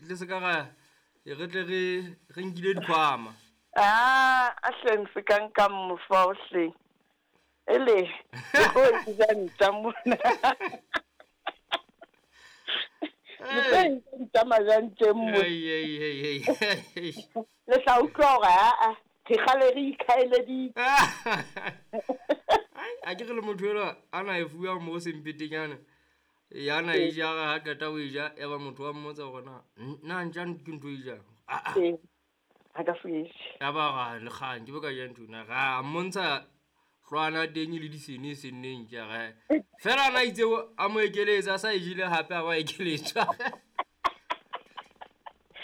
le se ka ra re tle re nkile dikhwama. A hleng se ka nka mofa o hleng. Ele o ja ntja mona. Le tlo majanteng mo. Ei. Le tla utlwa hore a re kgale re ikhaeleditse. Ai, a ke re le motho ela a na e fuwa mo sempetenyana. Ya na e ja ha qeta ho e ja, ya ba motho wa mmotsa hore na ntja ke ntho e jang. A. Ha ka fuwe. Ya ba ra le kgang ke bo ka ja ntho na ra mmontsha hlwana teng le disene senneng ke re. Fela na itse a mo ekeletsa sa e jile hape a ba ekeletswa.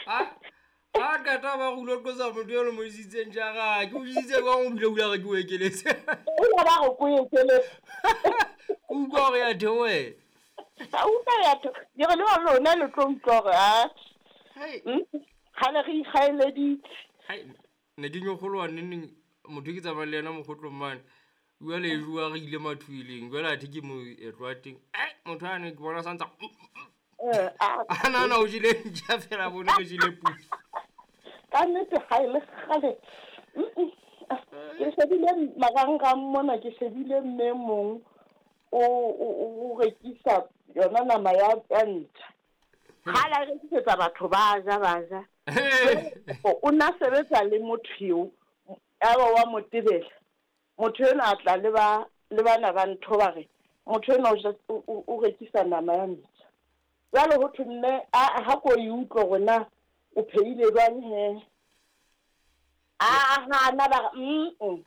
A qeta ba go ulo qosa motho eno mo isitseng jara ke o isitse kwa o bile o re ke o ekeletse. O ba re ko ekeletse. O utlwa hore ya theohe. A utlwa ya theohe. Ke re le lona le tlo utlwa hore a. Kgale re ikgaeleditse. Hai, ne ke nyokgoloha neneng motho ke tsamaya le yena mokgotlong mane. Jwale e jowa re ile mathuileng. Jwale athe ke mo etlwa teng. Ai, motho ane ke bona santsa. A na o jile ntja fela bone o jile pudi. Ka nnete ha e le kgale. Ke shebile marangrang mona, ke shebile mme mong o rekisa yona nama ya ntja. Ha la rekisetsa batho ba ja ba ja. O na sebetsa le motho eo, ya ba wa motebela. Motho ena a tla le bana ba ntho ba re motho ena o rekisa nama ya ntja. Jwale ho thwe mme ha ko e utlwe hore na o phehile jwang he. A hana ba re O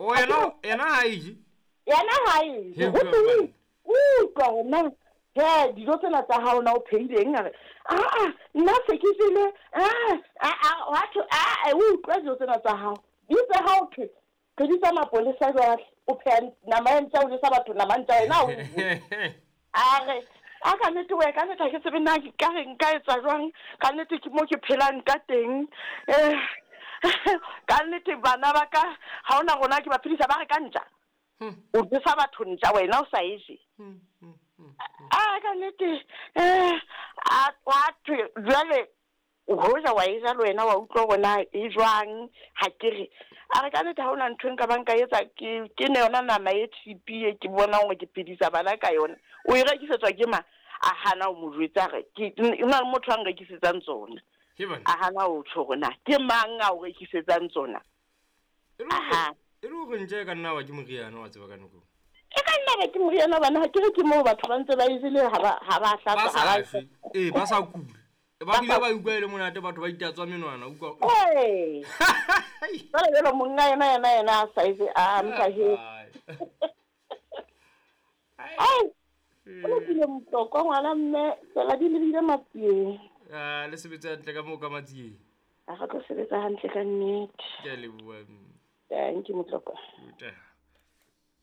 yena ha e je. Yena ha e je. Ho thwe utlwa hore na he dijo tsena tsa hao na o phehileng a re a nna se ke jele a wa thwe a utlwa dijo tsena tsa hao. Di tse ha o thwe re bitsa mapolesa jwale o pheha nama ya ntja o jesa batho nama ntja wena o. A re a ka nnete we ka nnete ha ke tsebe na ka re nka etsa jwang, ka nnete ke mo ke phelang ka teng. Ka nnete bana ba ka ha hona rona ke ba phedisa ba re ka ntja. O jesa batho ntja wena o sa e je. A ka nnete a wa thwe jwale hoja wa e ja le wena wa utlwa hore na e jwang ha ke re. A re ka nnete ha hona ntho e nka ba nka etsa ke ne yona nama e cheap e ke bona hore ke phedisa bana ka yona. O e rekisetswa ke mang? A hana ho mo jwetsa re ke na le motho a nrekisetsang tsona. A hana ho tjho hore na ke mang a o rekisetsang tsona. E le hore ntja e ka nna wa ke moriana wa tseba ka nako. E ka nna ba ke moriana bana ha ke re ke moo batho ba ntse ba e jele ha ba hlatsa ha ba sa kula. Ba bile ba utlwa e le monate batho ba itatswa menwana utlwa. Ee. Jwale jwale monga yena a sa etse a mpa he. Ai. O lokile Motlokwa ngwana mme tsela di lebile Matsieng. Ah, le sebetsa hantle ka moo ka Matsieng. A re tlo sebetsa hantle ka nnete. Ke a leboha. Thank you Motlokwa. Utlwa.